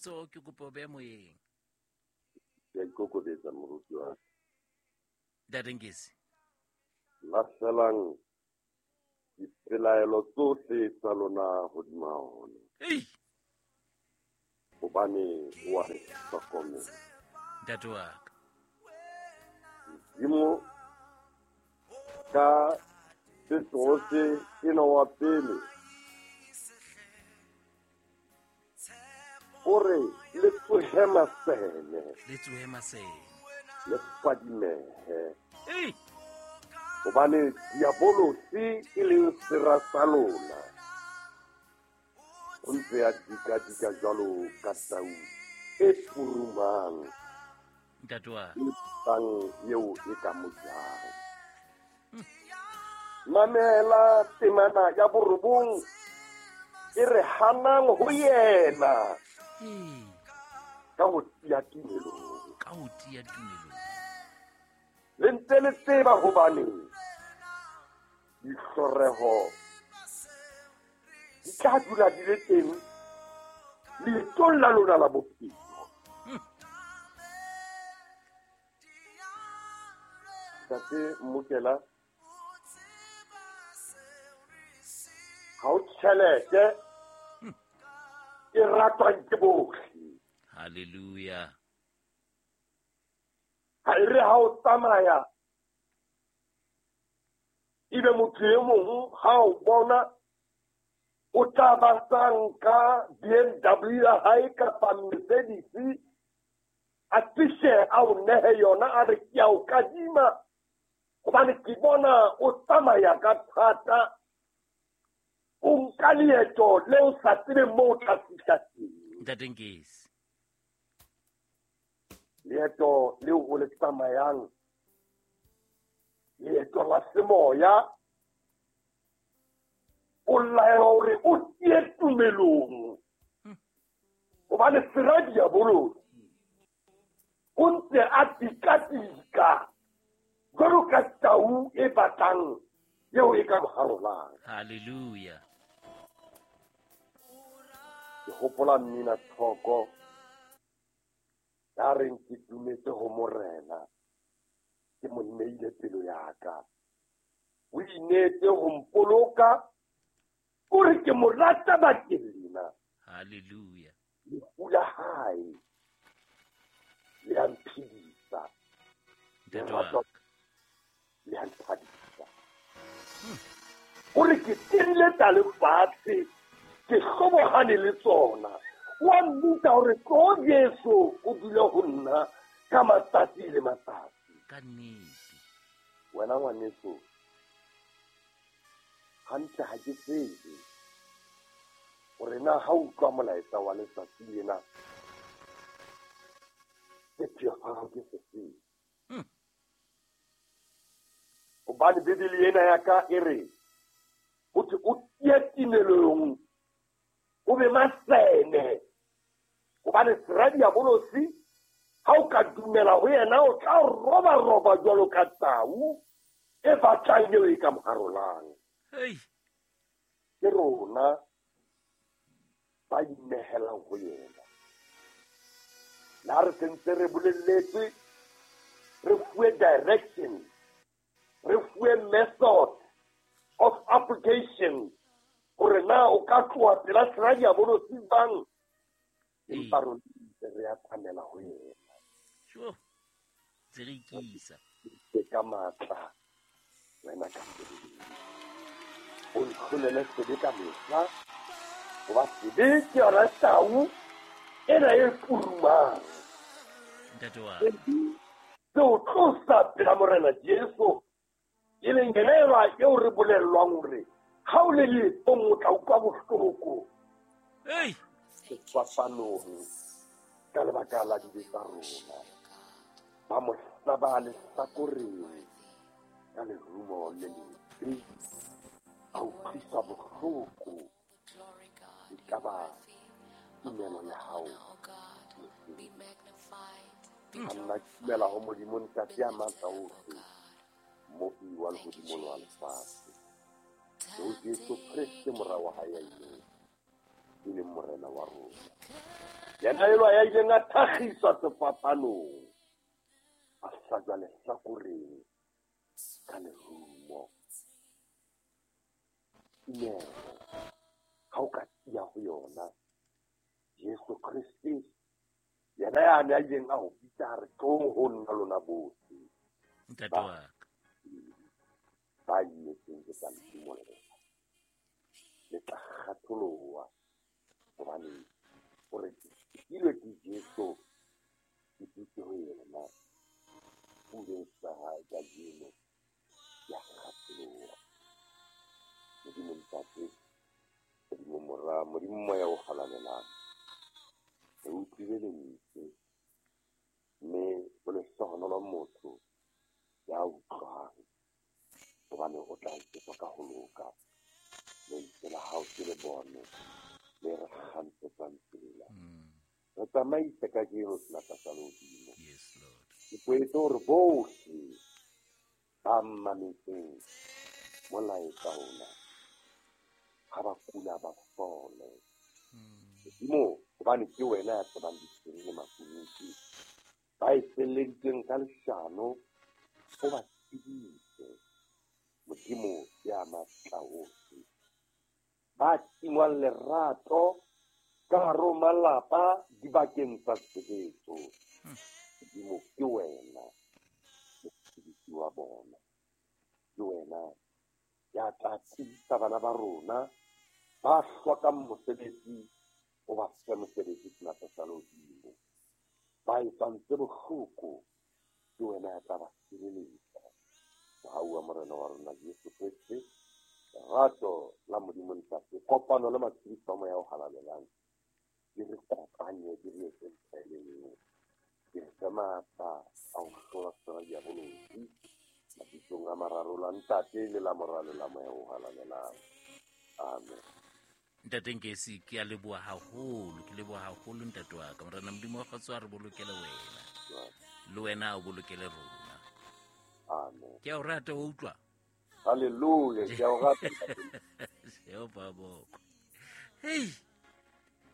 Letsoho ke kopa o behe moyeng. Ke a ikokobetsa moruti wa ka. Ntate Nkesi. Lahlelang dipelaelo tsohle tsa lona hodima ona. Ei! Hobane o a re hlokomela. Ntate wa ka. Modimo ka Petrose enwa wa pele o re le tsohe masene. Le tsohe masene. Le fadimehe. Ei! Hobane diabolosi e leng sera sa lona o ntse a dika-dika jwalo ka tau e purumang. Ntate wa. E tlang eo e ka mo jang. Mamela temana ya borobong e re hanang ho yena. Ka ho tiya tumelong. Ka ho tiya tumelong. Le ntse le tseba hobane dihloreho di tla dula di le teng leetong la lona la bophelo. Ntate Mmokela, ha o tjhelete e ratwang ke bohle. Hallelujah. Ha e re ha o tsamaya ebe motho e mong ha o bona o tla ba sa nka BMW ya hae kapa Mercedes a fihle a o nehe yona a re ke a o kadima hobane ke bona o tsamaya ka thata, o nka leeto le o sa tsebeng moo o tla fihla teng. Ntate Nkesi. Leeto leo o le tsamayang, leeto la semoya, o laelwa hore o tiye tumelong. Hobane sera diabolosi o ntse a tika-tika jwalo ka tau e batlang eo e ka mo harolang. Hallelujah. Ke hopola mmina thoko ya reng ke dumetse ho Morena, ke mo neile pelo ya ka. O inetse ho mpoloka, o re ke mo rata bakeng lena. Hallelujah. Lefu la hae le a mphedisa. Ntate wa ka. Le a nthabisa. O re ke tenne tsa lefatshe, ke hlobohane le tsona. Wa mmitsa hore tlo Jesu o dule ho nna ka matsatsi le matsatsi. Ka nnete. Wena ngwaneso, hantle ha ke tsebe hore na ha o utlwa molaetsa wa letsatsi lena, sepheo sa hao ke sefeng? Hobane Bibele ena ya ka e re, ho thwe o tiye tumelong, o be masene. Hobane sera diabolosi, ha o ka dumela ho yena, o tla roba-roba jwalo ka tau e batlang eo e ka mo harolang. Hey. Ke rona ba inehelang ho yena. Le ha re sentse re bolelletswe, re fuwe direction, re fuwe method of application hore na o ka tloha pela sera diabolosi jwang, empa rona ntse re atamela ho yena. Sure. Ntse re ikisa. Ke ka matla wena ka sebele. O ntlholele sebe ka mehla, hoba sebe ke yona tau ena e purumang. Ntate wa. Se o tlosa pela Morena Jesu, e leng yena elwa eo re bolellwang hore ha o le leetong o tla utlwa bohloko. Ei! Sefapanong ka lebaka la dibe tsa rona. Ba mo hlaba lehlakoreng ka lerumo le lebe, a utlwisa bohloko. E ka ba tumelo ya hao. Ha nna ke dumela ho Modimo Ntate ya matla ohle, Mmopi wa lehodimo le wa lefatshe, le ho Jesu Kreste mora wa hae ya ineng, e leng Morena wa rona. Yena elwa ya ileng a thakgiswa sefapanong, a hlajwa lehlakoreng ka lerumo. Tumelo ha o ka tiya ho yona, Jesu Kriste yena ya ne a ileng a ho bitsa a re, tlong ho nna lona bohle Ntate wa ka. Ba imetsweng ke tla le simolla, le tla kgatholoha, hobane o re ke ke Jesu, ke dutse ho yena, puleng sa hae kajeno ya kgatholoha. Modimo Ntate, Modimo Mora, Modimo Moya o Halalelang, re utlwile lentswe, mme o lehlohonolo motho ya utlwang, hobane o tla etsetswa ka ho loka. Lentswe la hao ke le bone le re kgantshetsang tsela. Re tsamaise kajeno senatla sa lehodimo. Yes, Lord. Ke koetse hore bohle ba mametseng molaetsa ona, ha ba kula ba fole. Modimo, hobane ke wena ya tsebang diphiri le makunutu, ba etselleditsweng ka leshano, o ba tsebise. Modimo ya matla ohle, ba tingwang lerato ka hare ho malapa dibakeng tsa tshebetso, Modimo ke wena mosebetsi wa bona, ke wena ya tla tiisa bana ba rona ba hlokang mosebetsi, o ba fe mosebetsi senatla sa lehodimo. Ba etsang tse bohloko, ke wena ya tla ba sireletsa. Mohau wa Morena wa rona Jesu Kriste, lerato la Modimo Ntate, kopano le matshediso a Moya o Halalelang, di re kopanye, di re etse ntho e le nngwe, di re fe matla a ho hlola sera diabolosi, mabitsong a mararo la Ntate le la Mora le la Moya o Halalelang. Amen. Ntate Ngesi, ke a leboha haholo, ke leboha haholo ntate wa ka. Morena Modimo wa kgotso a re bolokele wena, le wena o bolokele rona. Amen. Ke a o rata, wa utlwa? Hallelujah, ke a o rata. Jehova boko. Hey.